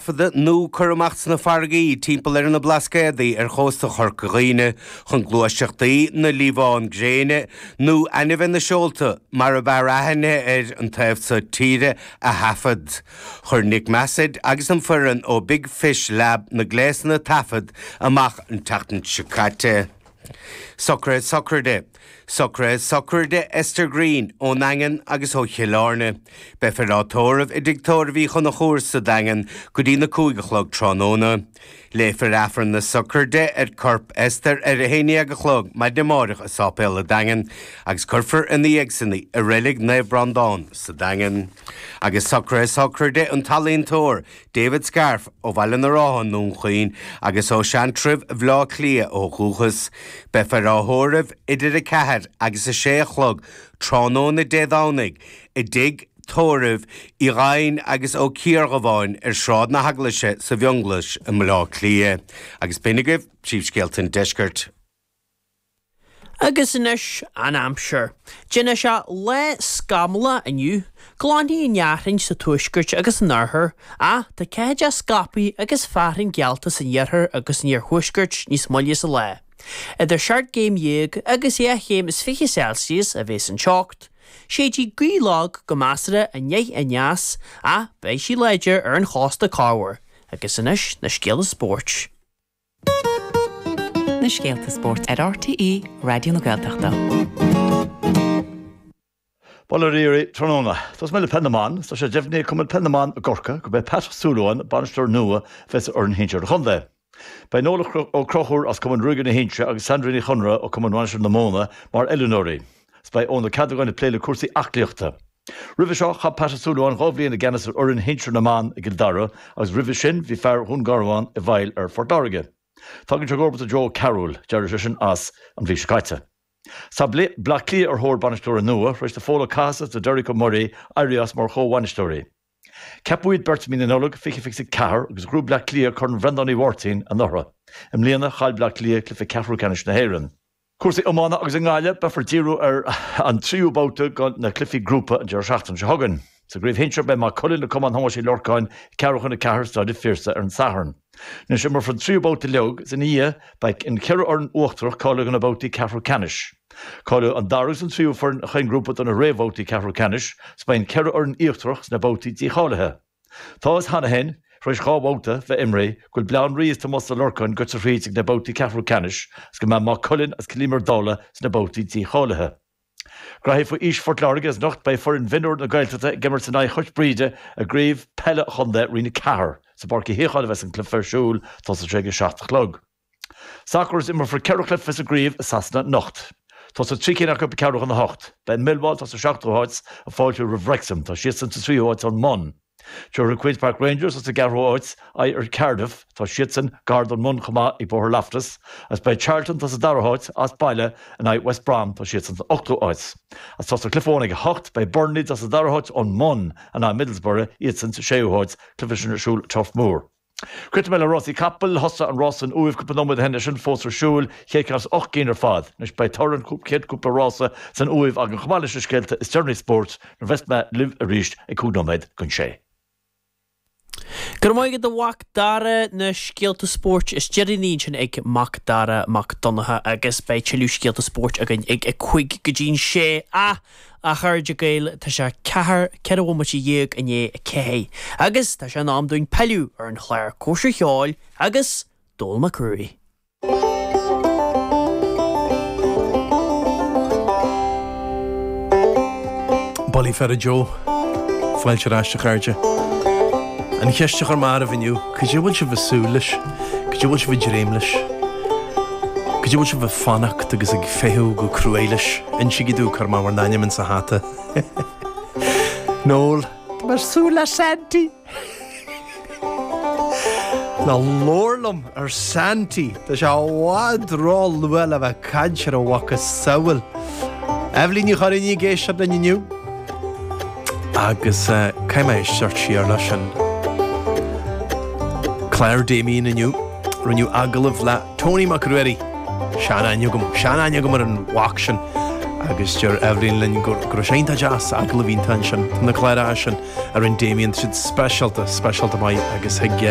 Taifeadadh nó cur amach sna farraigí timpeall ar na Blascaodaí ar chósta Chorca Dhuibhne chun gluaiseachtaí na liamhán gréine, nó ainmhithe na seolta mar ab fhearr aithne air an taobh so tíre, a thaifead. Chuir Nick Massett agus an foireann ó Big Fish Lab na gléasanna taifead amach an tseachtain seo caite. Socruithe Sochraide Socruithe sochraide Esther Greene ón nDaingean agus ó Chill Airne. Beifear á tórramh i dTigh Tórraimh Uí Chonchúir sa Daingean go dtí na 5 a chlog tráthnóna. Léifear Aifreann na sochraide ar corp Esther ar a 11 a chlog maidin amáireach i Sáipéal a' Daingin agus cuirfear ina dhiaidh san í i Reilig Naomh Breandán sa Daingean. Agus socruithe sochraide an t-ealaíontóir David Scarf ó Bhaile na Rátha i nDún Chaoin agus ó Seantrabh Bhaile Átha Cliath ó dhúchas. Beifear á thórramh idir 4 agus 6 a chlog tráthnóna Dé Domhnaigh i dtigh tórraimh Uí Dhaighn agus Ó Ciardhubháin ar Shráid na hEaglaise sa bhFionnghlas i mBaile Átha Cliath. Agus b'in agaibh príomhscéalta an deiscirt. Agus anois an aimsir. Déanfaidh sé lá scamallach inniu. Glanfaidh an fhearthainn sa tuaisceart agus san oirthear, ach tá ceathaideacha scaipthe agus fearthainn geallta san iarthar agus san iarthuaisceart níos moille sa lá. Idir seacht gcéim dhéag agus 12 chéim is 20 Celsius a bheas an teocht. Séidfidh gaoth lag go measartha aniar aneas, ach beidh sí láidir ar an chósta corruair. Agus anois na scéalta spóirt. Na scéalta spóirt ar RTÉ Raidió na Gaeltachta. Bail ó Dhia oraibh tráthnóna. Tosóidh mé le Peil na mBan. Tá sé deimhnithe ag Cumann Peil na mBan i gCorcaigh gurb é Pat Ó Súilleabháin bainisteoir nua a bheas ar fhoireann shinsir an chontae. Beidh Noel Ó Conchúir as Cumann Ruaige na hInse agus Sandra Ní Chonaire ó Cumann Mhainistir na Móna mar oiliúnóirí. 'S beidh Eoin Ó Ceadagáin ag plé le cúrsaí aclaíochta. Roimhe seo, chaith Pat Ó Súilleabháin 2 bhliain i gceannas ar fhoireann shinsir na mban i gCill Dara agus roimhe sin bhí fear Dhún Garbhán i bhfeighil ar Phort Láirge. Tagann sé i gcomharbacht ar Joe Carroll, d'éirigh seisean as an mhí seo caite. Tá Bleá Cliath ar thóir bainisteora nua, tar éis do Phól Ó Cathasaigh is do Derek Ó Muirí éirí as mar chomhbhainisteoirí. Ceapadh iad beirt i mí na Nollag 2024 agus ghnóthaigh Bleá Cliath Corn Bhreandáin Uí Mháirtín anuraidh. I mbliana, chaill Bleá Cliath cluiche ceathrú ceannais na hÉireann. Cúrsaí iomána agus i nGaillimh, beifear ag díriú ar an tríú babhta de na cluichí grúpa an deireadh seachtaine seo chugainn. Sa gcraobh shinsir, beidh Maigh Cuilinn ag Cumann Thomáis Uí Lorcáin ag ceathrú chun 4 i Staid an Phiarsaigh ar an Satharn. Anois imreofar an tríú babhta uilig is ina dhiaidh beidh an cheithre fhoireann uachtarach cáilithe do na babhtaí ceathrú ceannais. Cáileoidh an dara agus an tríú foireann chaon ghrúpa do na réamhbhabhtaí ceathrú ceannais is beidh an cheithre fhoireann íochtarach sna babhtaí dícháilithe. Tá a fhios cheana féin, tar éis 2 bhabhta bheith imrithe, go bhfuil Baile Átha an Rí is Tomás Ó Lorcáin goite thríd ag na babhtaí ceathrú ceannais agus go mbeidh Maigh Cuilinn agus Cill Íomair Dála sna babhtaí dícháilithe. Graithí faoi aois Phort Láirge is anocht beidh foireann mhionúir na Gaeltachta ag imirt in aghaidh Chois Bríde i gcraobh peile an chontae Roinn 4. Sa bPáirc Uí Shíocháin a bheas an cluiche ar siúl, tosóidh sé ag 7 a chlog. Sacar is imreofar 4 chluiche sa gcraobh i Sasana anocht. Tosóidh 3 cinn acu ag ceathrú chun a hocht. Beidh Millwall, atá sa seachtú háit, ag fáiltiú roimh Wrexham, tá siadsan sa tríú háit ón mbun. Tabharfaidh Queens Park Rangers, atá sa gceathrú háit, aghaidh ar Cardiff, tá siadsan gar don mbun chomh maith ag Bóthar Loftus, agus beidh Charlton, atá sa dara háit, as baile in aghaidh West Brom, tá siadsan san ochtú háit. Agus tosóidh cluiche amháin ag a hocht, beidh Burnley, atá sa dara háit ón mbun, in aghaidh Middlesbrough, iadsan sa séú háit, cluiche sin ar siúl i Turf Moor. Críochnóidh mé le rásaí capall. Thosaigh an rás san Uaimh cúpla nóiméad ó shin, é sin fós ar siúl, chéad cheann as 8 gcinn ar fad. Anois beidh toradh an chéad cúpla rása san Uaimh againn chomh maith leis na scéalta is deireanaí spóirt nuair a bheas mé libh arís ag 5 nóiméad don sé. Go raibh maith agat a Mhac Dara, na scéalta spóirt is deireanaí ansin ag Mac Dara Mac Donncha agus beidh tuilleadh scéalta spóirt againn ag a 5 go dtí'n 6. Ach! A chairde Gael, tá sé ceathair, 14 bhomaite i ndiaidh a 4, agus tá sé in am dúinn pilleadh ar an chlár Cóisir Cheoil agus Dónall Mac Ruairí. Bullaí faire Joe. Fáilte ar ais a chairde. An cheist a chuir mé oraibh inniu, cad é a bhfuil sibh ag súil leis? Cad é a bhfuil sibh ag dréim leis? Cad é a bhfuil sibh ag fanacht agus ag feitheamh go cruaidh leis? Insígí domh, cuirfidh mé bhur n-ainm insa hata. Noel, Tá mé ag súil le Santy! Ná labhair liom ar Santy! Tá sé i bhfad ró-luath le bheith ag caint ar a mhacasamhail. Eibhlín Ní Churraoin ag éisteacht linn inniu. Agus caithfidh mé éisteacht siar leis an clár Damien inniu. Rinneadh agallamh le Tony Mac Ruairí. Sean-aithne agam, sean-aithne agam ar an mhac sin. Agus deir Eibhlín linn go raibh sé iontach deas, agallamh iontach ansin. Tá na cláracha sin a rinne Damien, tá siad speisialta, speisialta maith agus thig.